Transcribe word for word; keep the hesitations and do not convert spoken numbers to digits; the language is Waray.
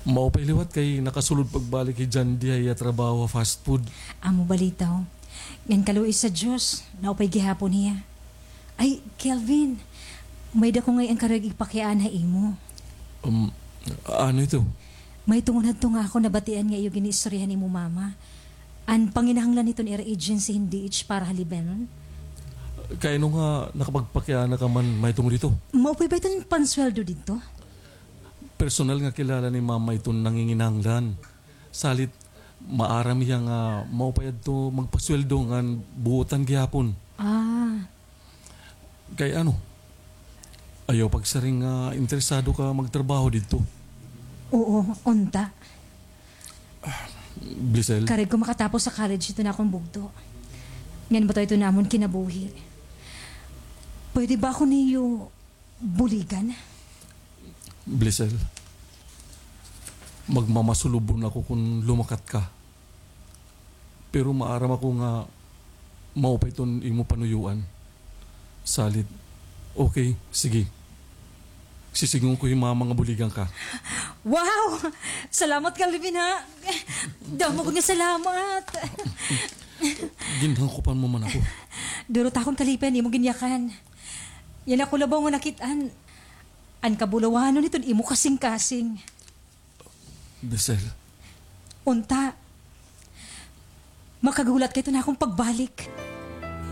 Maupay liwat kay nakasulod pagbalik hi Jandy ha iya trabaho ha fast food. Amo balitaw. Ngan kaluoy sa Diyos, naupay gihapon hiya. Ay, Kelvin, may dako ngay-an karuyag ipakiana ha imo. Um, ano ito? May tungod hadto nga ako nabatian nga iyo gin-iistoryahan imo mama. An panginahanglan hiton ira agency hin D H para ha Lebanon. Kay ano nga nakapagpakiana ka man may tungod ito? Maupay ba iton pansweldo didto? Personal nga kilala ni Mama iton nanginginahanglan. Salit, maaram hiya nga maupay adto magpasweldo ngan buotan gihapon. Ah. Kay ano? Ayaw pagsiring nga interesado ka magtrabaho didto. Oo, unta. Blisel? Karuyag ko makatapos sa college iton akon bugto. Ngan bato iton amon kinabuhi. Pwede ba ako niyo buligan? Blisel, magmamasulubon ako kon lumakat ka. Pero maaram ako nga maupay iton imo panuyoan. Salit, okay, sige. Sisidngon ko hi Mama nga buligan ka. Wow! Salamat, Kelvin, ha? Damo gud nga salamat. Ginhangkopan mo man ako. Duro ta akon kalipay an imo ginyakan. Yana ko labaw nga nakit-an an kabulawanon hiton imo kasingkasing. Blisel. Unta, makagulat ka hiton akon pagbalik.